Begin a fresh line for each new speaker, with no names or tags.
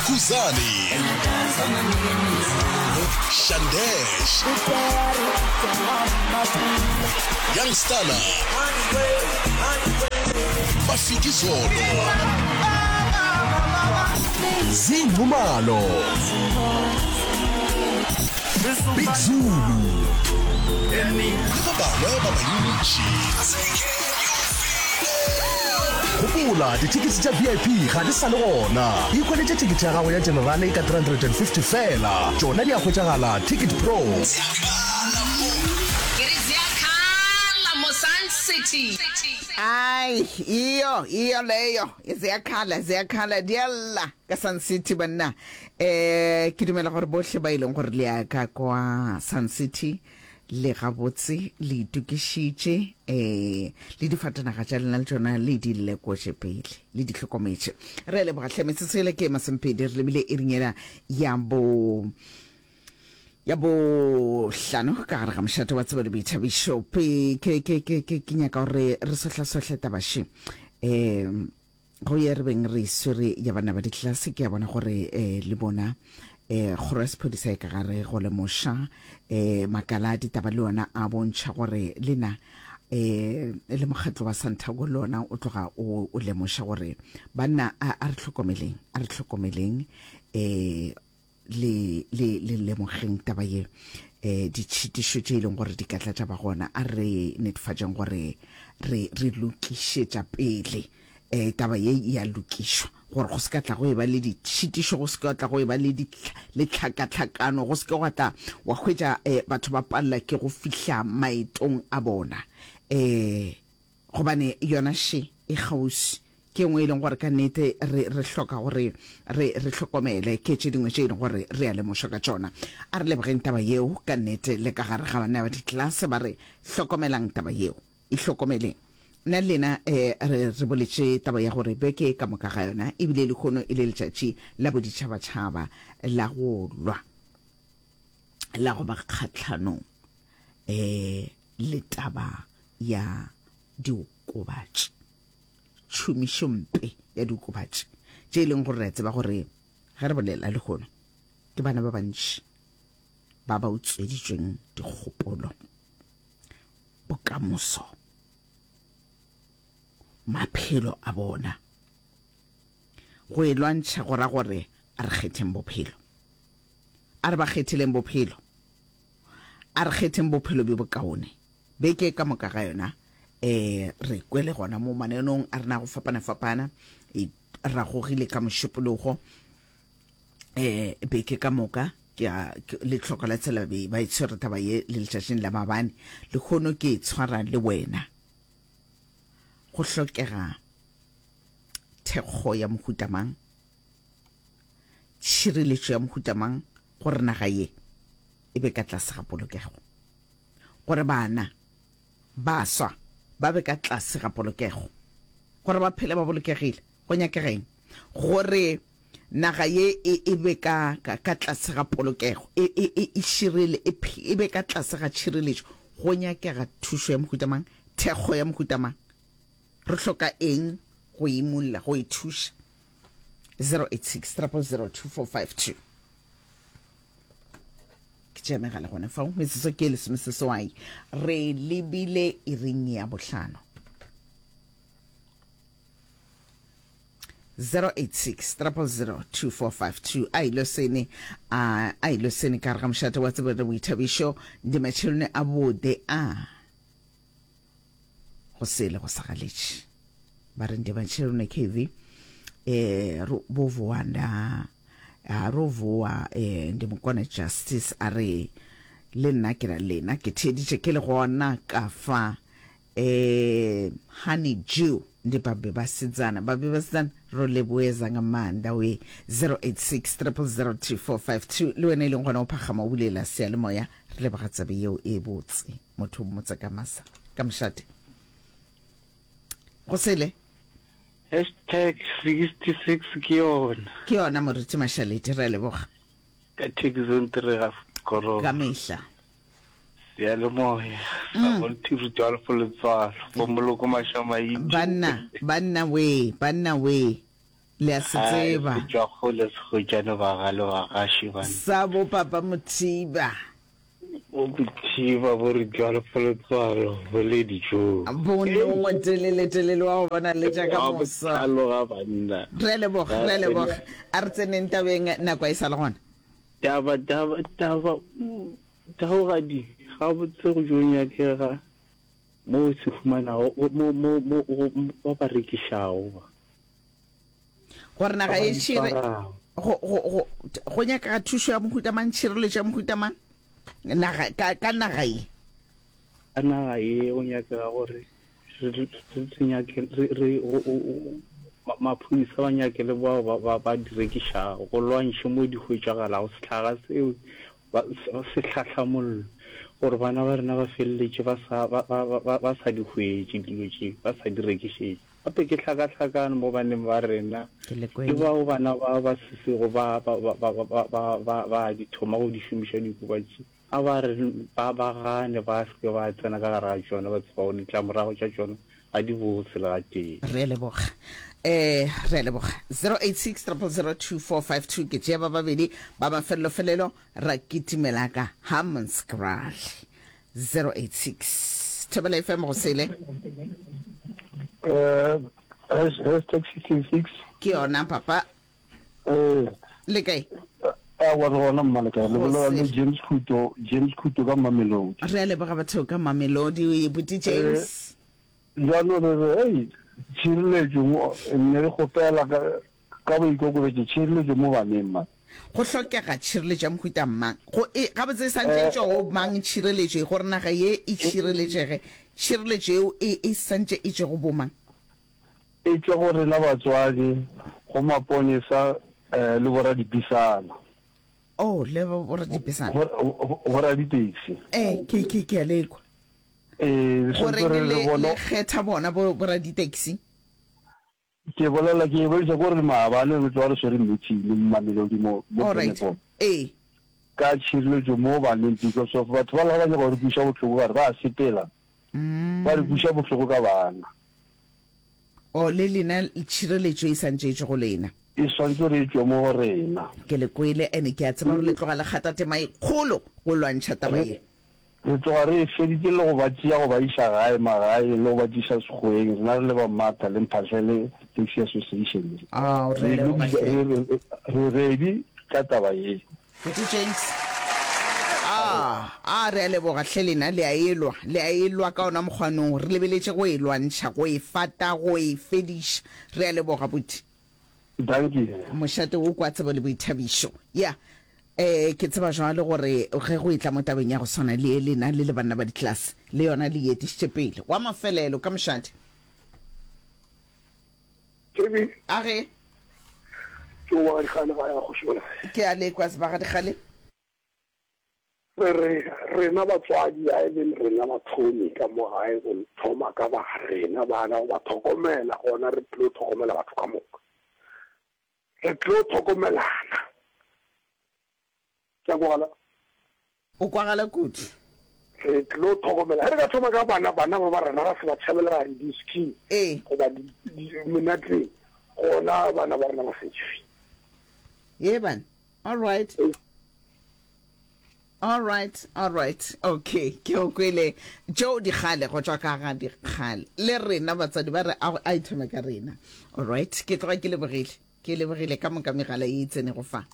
Khuzani, Shandesh, Young Stunna, Mafikizolo, Zee Nxumalo, Big Zulu le ba bangwe ba bantši. Gopola, dithekete tša VIP ga di sa le gona. Ikhweletše thekete ya gago ya Generale ka 350 feela. Tšona di a hwetšagala Ticket Pro.
Ke re ziyakhala mo Sun City.
Ai, iyo, iyo leyo. Ziyakhala, ziyakhala, di a lla ka Sun City banna. Eh, ke dumela gore bohle ba e leng gore le ya ka kwa Sun City le gabotse le itokišitše um le difatanaga tša lena le tšona le di lekotše pele le di hlokometše. Re a leboga hle metsotso ele ke masomepedi re lebile iring yela ya bo ya bohlano ka gare ga mošate wa tsebo le boithabišo. Pe ke ke ke ke ke nyaka gore re sohlasohle taba še um Go ye re beng re swere ya bana ba ditlelase, ke a bona gore eh, le bona eh, kgoro ya sephodisa e ka gare go lemoša eh, makala a ditaba le ona a bontšha gore le na eh, le mokgatlo wa Santaco le ona o tloga o, o lemoša gore banna a, a re hlokomeleng, a re hlokomeleng eh, le, le, le lemogeng taba ye eh, ditšhitišo tše e leng gore di ka tla tša ba gona, a re netefatšeng gore re, re lokišetša pele eh, taba ye e a lokišwa gore go se ka tla go e ba le ditšhitišo, go se ka tla go e ba le, le tlhakatlhakano, go se ke gwa tla wa hwetša eh, batho ba palela ke go fihla maetong a bona eh, Gobane yona še e kgauswi. Ke e nngwe e leng gore ka nnete re, re hloka gore re, re hlokomele. Ke tše dingwe tše e leng gore re a lemošwa ka tšona. A re lebogeng taba yeo ka nnete le ka gare ga banna ba ditlelase ba re, Hlokomelang taba yeo. Ihlokomeleng. Nna le lena eh, re, re boletše taba ya gore beke ka moka ga yona ebile lehono e le letšatši la boditšhabatšhaba la go lwa, la go ba kgahlanong eh, le taba ya diokobatši, tšhomišompe ya diokobatši, tše e leng gore re a tseba gore ge re bolela lehono ke bana ba bantši ba ba utsweditšweng dikgopolo, bokamoso, maphelo a bona. Go e lwantšha go ra gore a re kgetheng bophelo. A re ba kgetheleng bophelo. A re kgetheng bophelo bjo bokaone. Beke ka moka ga yona, e re kwele gona mo mananong a rena go fapana-fapana, e ragogile ka Mošupologo, e beke ka moka, ke a, le tlhoko la tsela be ba e tshwere taba ye le letšatšing la maabane. Lehono ke e tshwara le wena. Go hlokega thekgo ya mohuta mang? Tšhireletšo ya mohuta mang gore naga ye e be ka tlase ga polokego? Gore bana, baswa, ba be ka tlase ga polokego, gore ba phele ba bolokegile, go nyakega eng? Gore naga ye e, e be ka, ka, ka tlase ga polokego, e, e, e, e širele, e, e be ka tlase ga tšhireletšo, go nyakega thušo ya mohuta mang? Thekgo ya mohuta mang? Re hloka eng go imulla, go e thuša? 086 000 2452. Ke tšea megala gona fao, metsotso ke e lesomeseswai, re lebile iring ya bohlano. 086 000 2452 a ilo sene a a ilo sene ka re ga mošate wa tsebo le boithabišo ndi matšhelone a bode a go sele go sa galetše ba re ndi matšhelone kv eh ro bo voa nda a ro voa eh ndi mokone justice a re le nna ke ra lena ke theeditše ke le gona ka fa eh honey jew ndi babe basedzana babe basedzana ro leboeza nga maanḓa we 086 000 2452 le wena e leng gona o phagama o bulela seyalemoya re leboga tsebe yeo e botse motho o mmotse ka masa ka mošate go sele
Hashtag 66 ke yona.
Ke yona Moruti Mashaledi, re a leboga.
Ka Thekizong Tirega Korong.
Ka mehla.
Seyalemoya sa Volti Rudolf Letswalo, bo Moloko Mashamaite.
Banna, banna wee, banna wee. Le a se tseba.
Se tšwa kgole se hwetšane bagale bagaši banna.
Sa bo papa Mothiba.
Bo Mothiba bo re tšwalopolotswalo bo le dijong.
Bo nongwe telele telele wa go bona le tša ka moso.
Wa botlalo ga banna.
Re a leboga, re a leboga. A re tseneng tabeng nako e sa le gona.
Taba taba taba taogadi gabotse go jo nyakega mo o se humanago mo mo mo ba ba rekišago ba.
Gore naga e tšhire go go go go nyakega thušo ya mohuta mang, tšhireletšo ya mohuta mang naga ka ka naga ye.
Ka naga ye go nyakega gore re re re nyake re re maphodisa ba nyake le bao ba ba ba di rekišago go lwantšhe mo di hwetšagalago sehlaga seo ba se hlahlamollo gore bana ba rena ba feleletše ba sa ba ba ba ba sa di hwetše dilo tše ba sa di rekišetše. Gape ke hlakahlakano mo baneng ba rena le bao bana ba ba sesego ba, ba, ba, ba, ba, ba, ba, ba di thoma go di šomiša diokobatši. A ba re ba, ba gane, ba se ke ba tsena ka gare ga tšona, ba tseba gore ditlamorago tša tšona ga di bose le gatee.
Re a leboga. Eh, re a leboga. 086 000 2452 ke tšea ba babedi ba mafelelo-felelo ra kitimela ka Hammanskraal. 086 Thobela FM go sele.
Eh, hashtag 66.
Ke yona papa.
Eh.
Le kae?
A wa re gona mma le kae? Le bolela le James Khuto, James Khuto ka Mamelodi.
Re a leboga batho ka Mamelodi, buti James.
Eh, jaanong re re, hey, tšhireletšo mo, ne re kgopela ka Ka boikokobetšo, tšhireletšo mo baneng ba.
Go hlokega tšhireletšo ya mohuta mang? Go e, gabotse e santše e tšwa go mang tšhireletšo ye? Gore naga ye e tšhireletšege, tšhireletšo yeo e, e santše e tšwe go bomang?
E tšwa go rena batswadi, go maponesa, eh, le boradipisana.
Oh, le boradipisana.
Go, boraditekisi.
Eh, ke, ke, ke a le kwa.
Eh,
Goreng le, le kgetha bona bo, boraditekisi?
Ke bolela ke boletša ko re maabane re tloga re swere meeting le Mamelodi mo mo
Alright.
Benepol
Ee.
ka tšhireletšo mo baneng because of batho ba la ba nyaka go re kweša bohloko ka re ba sepela ba re kweša bohloko ka bana.
Oh, le lena tšhireletšo e santše e tšwe go lena.
E swantše re e tšwe mo go rena.
Ke le kwele and ke a tseba gore le tloga le kgata tema e kgolo go lwantšha taba ye.
Re tloga re e feditše le go ba tšea go ba iša gae, magaeng, le go ba tliša Sekgoweng, rena re le ba Martha le Mphahlele Taxi Association.
Ao, re
Re
leboga
lokisa,
hle.
re, re, re ready ka taba ye.
Buti James. A, a re a leboga hle lena, le a elwa, le a elwa ka ona mokgwanong, re lebeletše go e lwantšha, go e fata, go e fediša. Re a leboga, buti.
Dankie.
Mošate wo kwa tsebo le boithabišo. Ya, eh, ke tseba jwale gore ge go etla mo tabeng ya go swana le ye lena le le banna ba ditlelase, le yona le e etišitše pele. Wa mafelelo, ka mošate.
Kevin.
A ge.
Ke wa Dikgale ga ya kgoši bona.
Ke a lekwa sebaga Dikgale.
Re re, rena batswadi a e beng rena bathomi ka mo gae go thoma ka ba rena bana go ba thokomela, gona re tlo thokomela batho ka moka. Re tlo thokomelana. Ke a kwagala?
O kwagala kudu.
Re tlo thokomela. Ge re ka thoma ka bana, bana ba ba rena ra se ba tšhabela di-ski goba menateng, gona bana ba rena ba safe.
Ye bana. All right. All right, all right. Okay, ke o kwele. Joe Dikgale go tšwa ka ga Dikgale. Le rena batswadi ba re a a ithome ka rena. All right, ke tloga ke lebogile. Ke lebogile ka moka megala ye e tsenego fa.